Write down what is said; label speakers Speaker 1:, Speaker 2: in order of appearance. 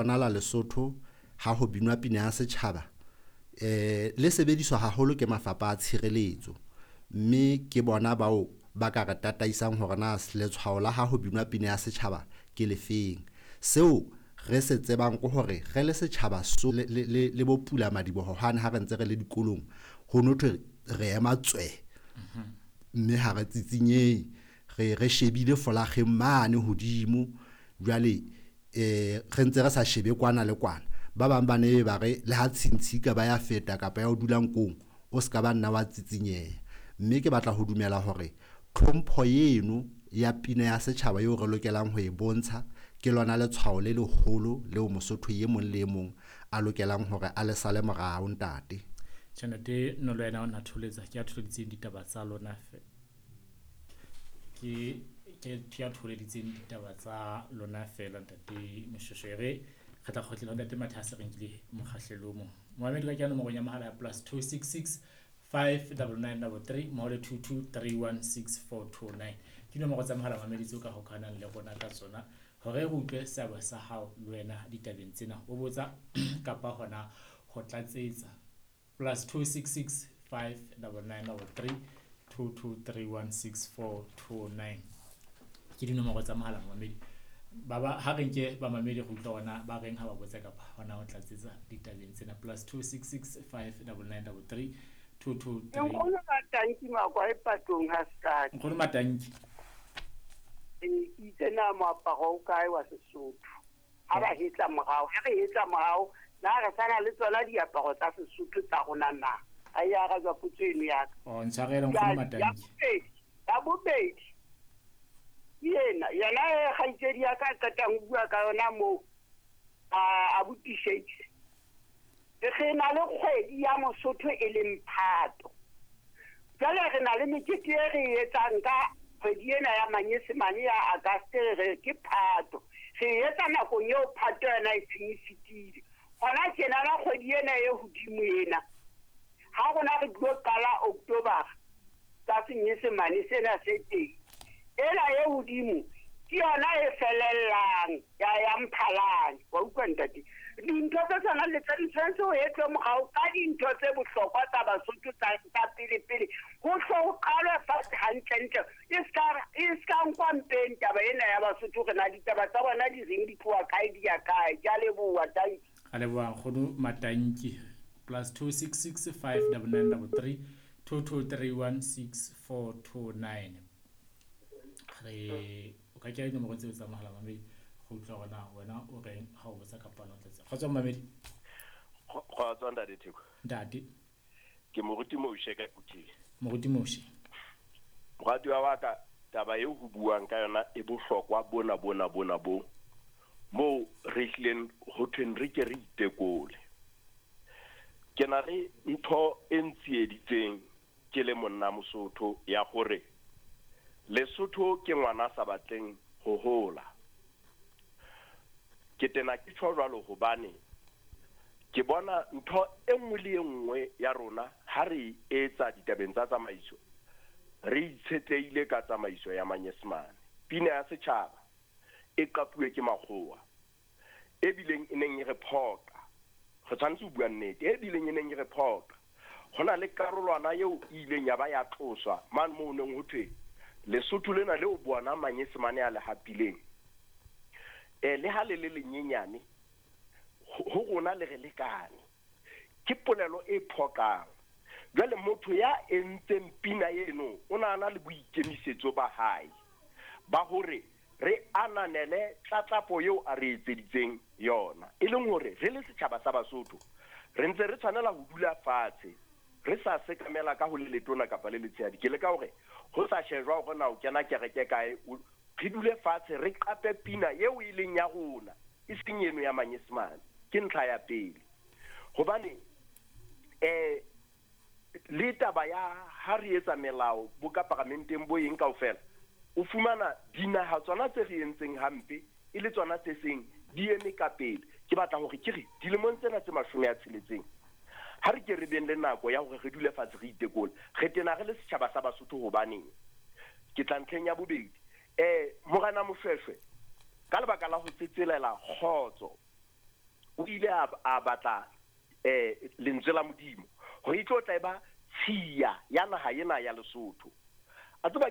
Speaker 1: Bonala Lesotho ha ho binwa pina ya setjhaba le sebediswa haholo ke mafapha a tshireletso, mme ke bona bao ba ka re tataisang hore na letshwao la ha ho binwa pina ya setjhaba ke lefeng. Seo re se tsebang ke hore re le setjhaba so le bo pula madiboho hane ha re ntse re le dikolong, ho no thwe re ema tswe, mme ha re tsitsinyehe, re shebile folakgeng mane hodimo. Jwale re ntse re sa shebe kwana le kwana. Ba bang ba ne ba re le ha tshintshi ka ba ya feta kapa ya o dula nkong, o ska ba nna wa tsitsinyeha. Mme ke batla ho dumela hore tlhompho eno ya pina ya setjhaba eo re lokelang ho e bontsha ke lona letshwao le leholo leo Mosotho e mong le e mong a lokelang hore a le sale morao, ntate.
Speaker 2: Tjhe, ntate Nolo yena o na tholetsa, ke a tholeditseng ditaba tsa lona ke a tholeditseng ditaba tsa lona fela, ntate Moshweshwe. E re re tla kgotlela ho ntate Mathase, re nkile mokgahlelo o mong. Momamedi ka kena nomorong ya mohala ya +266 599 33 mmoho le 22316429 ke dinomoro tsa mohala mamedi tseo ka hokahanang le rona ka tsona hore re utlwe seabo sa hao le wena ditabeng tsena, o botsa kapa hona ho tlatsetsa. +266 599 33 22316429 ke dinomoro tsa mohala mamedi. Ba ba ha re nke ba mamedi re utlwa ona ba reng ha ba botsa kapa hona ho tlatsetsa ditabeng tsena. +266 599 33 223.
Speaker 3: Nkgono Matanki Makwa e patong ha sekate.
Speaker 2: Nkgono Matanki.
Speaker 3: Ke itse na moaparo o kae wa Sesotho? Ha ba hetla morao, ha re hetla morao, na re sana le tsona diaparo tsa Sesotho tsa rona na? Ha e arajwa potso eno ya ka.
Speaker 2: Oh, ntshwarele nkgono Matanki.
Speaker 3: Ya bobedi. Yena, yena e kgaitsedi ya ka qetang ho bua ka yona moo, a botisetse. Re na le kgwedi ya Mosotho e leng Phato. Jwale re na le mekete e re e etsang ka kgwedi ena ya Manyesemane ya August, re ke Phato. Re e etsa nakong eo Phato yona e seng e fetile. Hona tjena la kgwedi ena e hodimo ena, ha rona re tlo qala October ka Senyesemane sena se teng, ena e hodimo ke yona e felellang ya Mphalane. Wa utlwa ntate? Dintho tse tshwanang le tse di tshwanetse ho etswe morao ka dintho tse bohlokwa tsa Basotho tsa pele pele, ho hlo ho qalwe fatshe hantlentle, e ska nkwa mpeng taba ena ya Basotho. Re na ditaba tsa bona di reng, di tloha kae, di ya kae. Ke a leboha, tanki.
Speaker 2: A leboha nkgono Matanki. +266 599 33 22316429. Re o ka kenya dinomoro tseo tsa mohala mamedi go utlwa hore na wena o reng ha o botsa kapa o tlatsa. Kgotso mamedi.
Speaker 4: Kgotso ntate Theko.
Speaker 2: Ntate.
Speaker 4: Ke Moruti Moshe ka Kuthing.
Speaker 2: Moruti Moshe.
Speaker 4: Moratuwa wa ka, taba eo ho buang ka yona e bohlokwa bona bona bona bo moo re hlileng ho thweng re ke re itekole. Ke na le ntho e ntsieditseng ke le monna Mosotho ya hore Lesotho ke ngwana sa batleng ho hola. Ke tena ke tjho jwalo hobane ke bona ntho e nngwe le e nngwe ya rona ha re etsa ditabeng tsa tsamaiso, re itshetlehile ka tsamaiso ya Manyesemane. Pina ya setjhaba e qapuwe ke makgowa, e bileng e neng e re phoqa. Re tshwanetse ho bua nnete, e bileng e neng e re phoqa. Ho na le karolwana eo e ileng ya ba ya tloswa mane moo neng ho thwe Lesotho lena leo bona Manyesemane a le hapileng, le ha le le lenyenyane ho rona le re lekane. Ke polelo e phoqang. Jwale motho ya entseng pina eno o na na le boikemisetso ba hae ba hore re ananele tlatlapo eo a re etseditseng yona, e leng hore re le setjhaba sa Basotho re ntse re tshwanela ho dula fatshe re sa sekamela ka ho le letona kapa le letshehadi. Ke leka hore ho sa shejwa hore na o kena kereke kae, re dule fatshe re qape pina eo e leng ya rona, e seng eno ya Manyesemane. Ke ntlha ya pele. Hobane le taba ya ha re etsa melao bo ka paramenteng bo eng kaofela, o fumana dinaha tsona tse re entseng hampe e le tsona tse seng di eme ka pele. Ke batla hore ke re dilemong tsena tse 60, ha re ke re beng le nako ya hore re dule fatshe re itekole. Re tena re le setjhaba sa Basotho hobaneng? Ke tla ntlheng ya bobedi. Morena Moshweshwe ka lebaka la ho tsetselela kgotso O ile a batla lentswe la Modimo hore e tlo tla e ba tshiya ya naha ena ya Lesotho. A tseba.